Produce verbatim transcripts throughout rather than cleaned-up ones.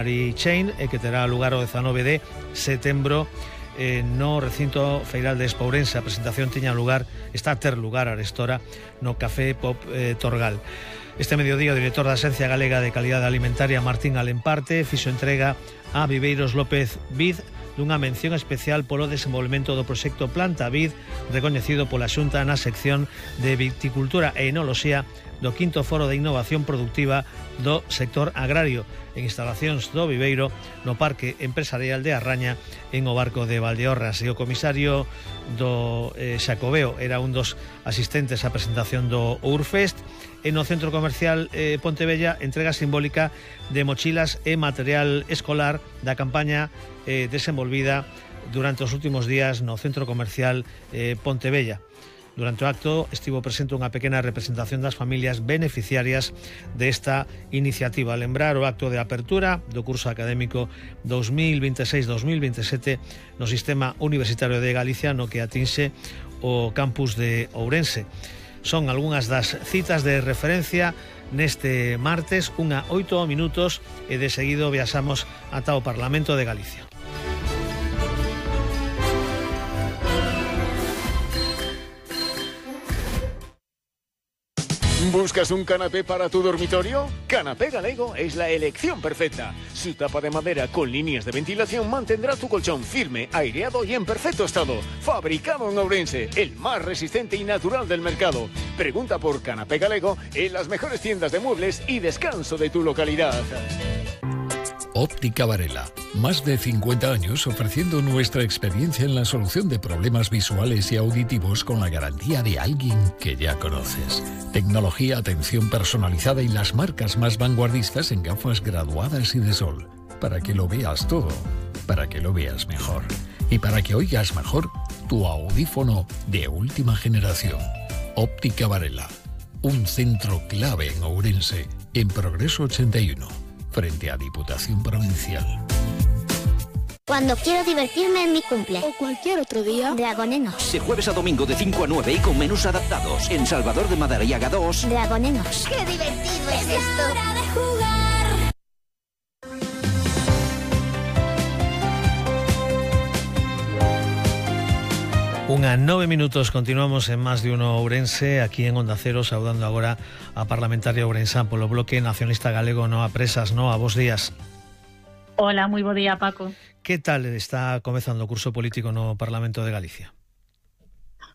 Chain e que terá lugar o dezanove de setembro eh, no recinto feiral de Expo Ourense. A presentación tiña lugar, está a ter lugar arestora no Café Pop eh, Torgal. Este mediodía o director da Axencia Galega de Calidade Alimentaria, Martín Alemparte, fixo entrega a Viveiros López Vid dunha mención especial polo desenvolvemento do proxecto Planta Vid, recoñecido pola Xunta na sección de Viticultura e Enoloxía do quinto Foro de Innovación Productiva do sector agrario en instalacións do Viveiro no Parque Empresarial de Arraña en o Barco de Valdeorras. E o comisario do eh, Xacobeo era un dos asistentes á presentación do Urfest. E no Centro Comercial eh, Pontevella, entrega simbólica de mochilas e material escolar da campaña eh, desenvolvida durante os últimos días no Centro Comercial eh, Pontevella. Durante o acto estivo presente unha pequena representación das familias beneficiarias desta iniciativa. Lembrar o acto de apertura do curso académico dos mil veintiséis dos mil veintisiete no Sistema Universitario de Galicia, no que atinxe o campus de Ourense. Son algunhas das citas de referencia neste martes, unha oito minutos, e de seguido viaxamos ata o Parlamento de Galicia. ¿Buscas un canapé para tu dormitorio? Canapé Galego es la elección perfecta. Su tapa de madera con líneas de ventilación mantendrá tu colchón firme, aireado y en perfecto estado. Fabricado en Ourense, el más resistente y natural del mercado. Pregunta por Canapé Galego en las mejores tiendas de muebles y descanso de tu localidad. Óptica Varela. Más de cincuenta años ofreciendo nuestra experiencia en la solución de problemas visuales y auditivos con la garantía de alguien que ya conoces. Tecnología, atención personalizada y las marcas más vanguardistas en gafas graduadas y de sol. Para que lo veas todo, para que lo veas mejor. Y para que oigas mejor tu audífono de última generación. Óptica Varela. Un centro clave en Ourense, en Progreso ochenta y uno. Frente a Diputación Provincial. Cuando quiero divertirme en mi cumple. O cualquier otro día. Dragonenos. De jueves a domingo de cinco a nueve y con menús adaptados. En Salvador de Madariaga dos. Dragonenos. ¡Qué divertido es, es esto! Hora de jugar. Unha nove minutos, continuamos en Más de Uno Ourense, aquí en Onda Cero, saudando agora a parlamentaria ourensán polo Bloque Nacionalista Galego Noa Presas. Noa, bos días. Hola, moi bo día, Paco. Que tal está comezando o curso político no Parlamento de Galicia?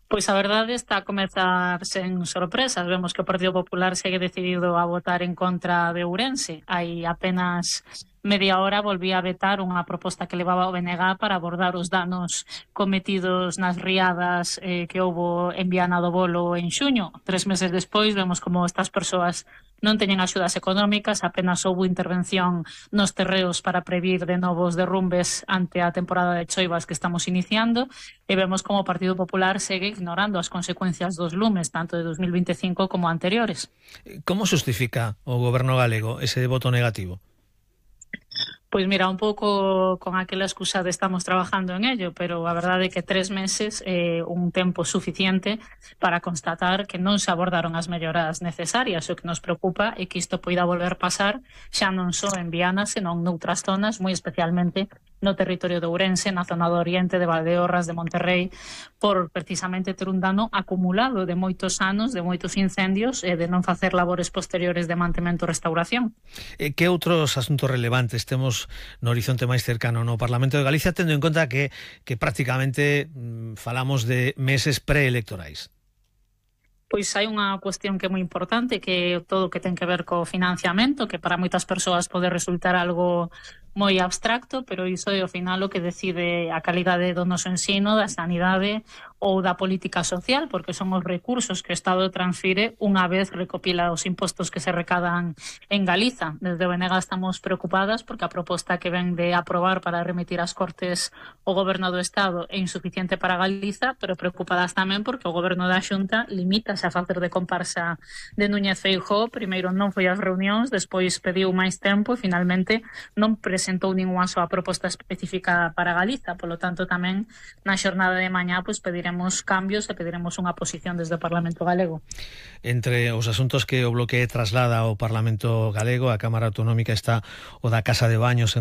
Pois a verdade está a comezar sen sorpresas. Vemos que o Partido Popular segue decidido a votar en contra de Ourense. Hai apenas media hora volvía a vetar unha proposta que levaba o B N G para abordar os danos cometidos nas riadas eh, que houbo en Viana do Bolo en xuño. Tres meses despois vemos como estas persoas non teñen axudas económicas, apenas houbo intervención nos terreos para previr de novos derrumbes ante a temporada de choivas que estamos iniciando, e vemos como o Partido Popular segue ignorando as consecuencias dos lumes, tanto de dos mil veinticinco como anteriores. Como justifica o goberno galego ese voto negativo? Pois mira, un pouco con aquela excusa de estamos trabajando en ello, pero a verdade é que tres meses é eh, un tempo suficiente para constatar que non se abordaron as melloras necesarias. O que nos preocupa é que isto poida volver pasar xa non só en Viana, senón noutras zonas, moi especialmente no territorio de Ourense, na zona do Oriente, de Valdeorras, de Monterrey, por precisamente ter un dano acumulado de moitos anos, de moitos incendios e de non facer labores posteriores de mantemento e restauración. E que outros asuntos relevantes temos no horizonte máis cercano no Parlamento de Galicia, tendo en conta que, que prácticamente mmm, falamos de meses preelectorais? Pois hai unha cuestión que é moi importante, que é todo o que ten que ver co financiamento, que para moitas persoas pode resultar algo moi abstracto, pero iso é ao final o que decide a calidade do noso ensino, da sanidade ou da política social, porque son os recursos que o Estado transfire unha vez recopila os impostos que se recadan en Galiza. Desde o B N G estamos preocupadas porque a proposta que ven de aprobar para remitir as Cortes o Goberno do Estado é insuficiente para Galiza, pero preocupadas tamén porque o Goberno da Xunta limítase a facer de comparsa de Núñez Feijóo. Primeiro non foi ás reunións, despois pediu máis tempo e finalmente non presentou ningunha súa proposta específica para Galiza. Polo tanto, tamén na xornada de mañá pois pediremos pediremos cambios e pediremos unha posición desde o Parlamento Galego. Entre os asuntos que o Bloque traslada ao Parlamento Galego, a Cámara Autonómica, está o da Casa de Baños en